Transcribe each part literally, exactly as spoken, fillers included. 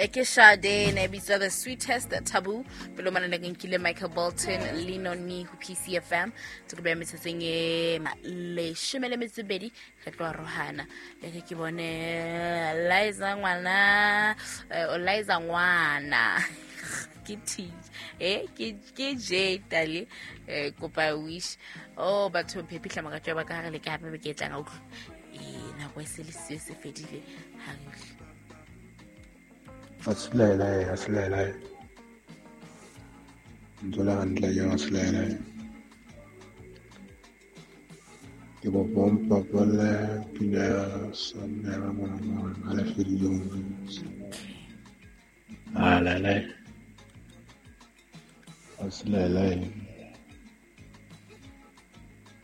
E ke Sade ne bitswa The Sweetest Taboo. Pele o mana ke nkile Michael Bolton Lino Ni ho P C F M. Tse ke beya metsotsong e leshome le metso e mebedi re tlo arohana. E re ke bone Liza ngwana, eh, Liza ngwana. Ke T, eh, ke, ke J tale, eh, kopa wish. Oh, batho phepihla makatswa ba ka hare le ke hape be ke tlang a utlwa. Eh, nako e se le se se fedile ha re utlwe. A se laelae, a se laelae. Ntse le hantle ke a se laelae. Ke kopa o mpapalle pina ya Sannela mona mona, ha le fedile ho ntse. A laelae. A se laelae.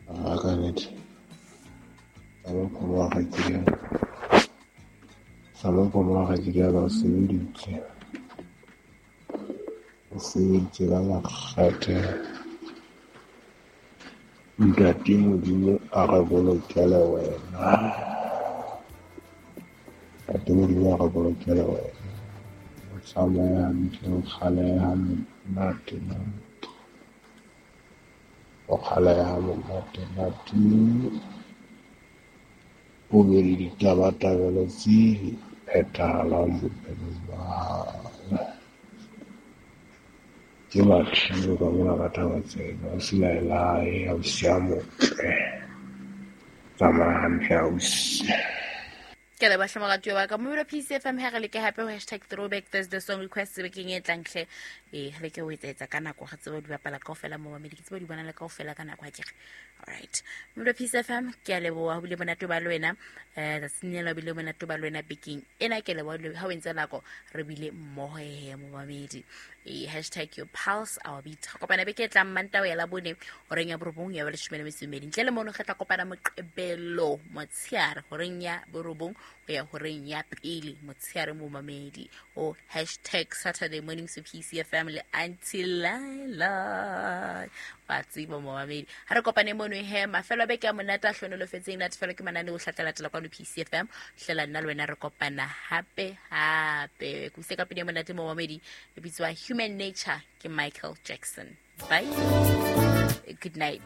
A ka nnete. Sa mapholo wa kgaitsedi ya ka. Sa mapholo wa kgaitsedi ya ka o sebeditse. O sebeditse ka makgethe. Ntate Modimo a re bolokele wena. Ntate Modimo a re bolokele wena. O tsamaye hantle, o kgaleha monate nate. O kgaleha monate nate. O be le ditabatabelo tse phethahalang bophelong ba hao. Ke batho ka mona ka thaba tsena, o se laelae, ausi a motle. Tsamaya hantle ausi. Ke leboha hle moratuwa wa ka. Momelo P C F M ha re leke hape ho hashtag throwback Thursday song request bekeng e tlang hle. Eh, re leke ho etsa ka nako, re tsebe ho di bapala kaofela mo mamedi, ke tsebe ho di bona le kaofela ka nako ha ke re. All right. Momelo P C F M, ke a leboha ho bile monate ba le wena. Eh, tsatsing lena ho bile monate ba le wena bekeng ena. Ke leboha ha o entse nako re bile mmoho he momamedi. Eh, hashtag your pulse our beat. Re kopana beke e tlang Mantaha ho ya Labone horeng ya borobong ya ba leshome le metso e mmedi. Ntle le mono re tla kopana Moqebelo motsheare horeng ya borobong ho ya horeng ya pele motsheare momamedi. O hashtag Saturday morning so P C F M le Auntie Laila. Wa tseba momamedi. Ha re kopane mono he mafelo a beke a monate a hlohonolofetseng natefelo ke manane o hlatla latela kwano P C F M. Hlela nna le wena re kopana hape hape. Ke ise ka pina e monate momamedi e bitswa Human Nature ke Michael Jackson. Bye. Good night.